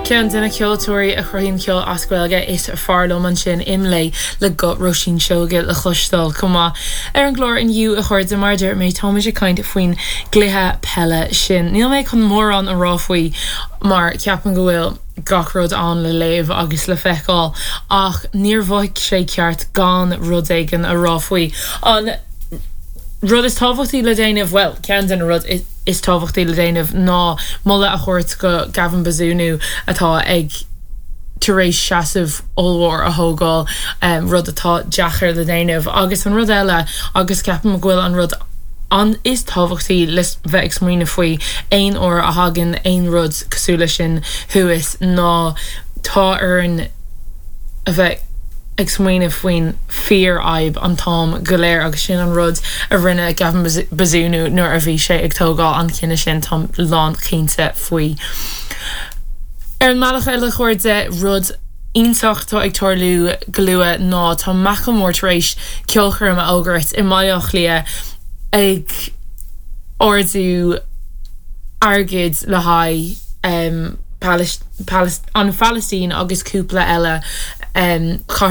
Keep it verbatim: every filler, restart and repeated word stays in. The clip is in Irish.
Ceann de na ceoltóirí a chruthaíonn ceol as Gaeilge is fearr liom ansin Imlé le guth Róisín Seoige le cloisteáil chomh maith. Ar an gclár inniu a chairde mar a dúirt mé táimid ag caint faoin gcluiche peile sin. Níl mé chun mórán a rá faoi mar ceapaim go bhfuil gach rud ann le léamh agus le feiceáil ach níor mhothaigh sé ceart gan rud éigin a rá faoi. An rud is tábhachtaí le déanamh well ceann den rud is tábhachtaí le déanamh ná moladh a thabhairt go Gavin Bazunu atá ag tar éis seasamh ollmhór a thógáil um, rud atá deacair le déanamh agus an rud eile agus ceapaim go bhfuil an rud an is tábhachtaí le bheith ag smaoineamh faoi aon uair a thagann aon rud cosúil leis sin thuas ná tá orainn a bheith ag smaoineamh faoin fíorfhadhb an t-am go léir agus sin an rud a rinne Gavin Bazunu nuair a bhí sé ag tógáil an cinneadh sin táim lánchinnte faoi. Ar an mbealach eile a chairde rud iontach atá ag tarlú go luath ná tá Macklemore tar éis ceolchoirm a fhógairt i mBaile Átha Cliath ag ardú airgid le haghaidh um, an Phalaistín agus cúpla eile um,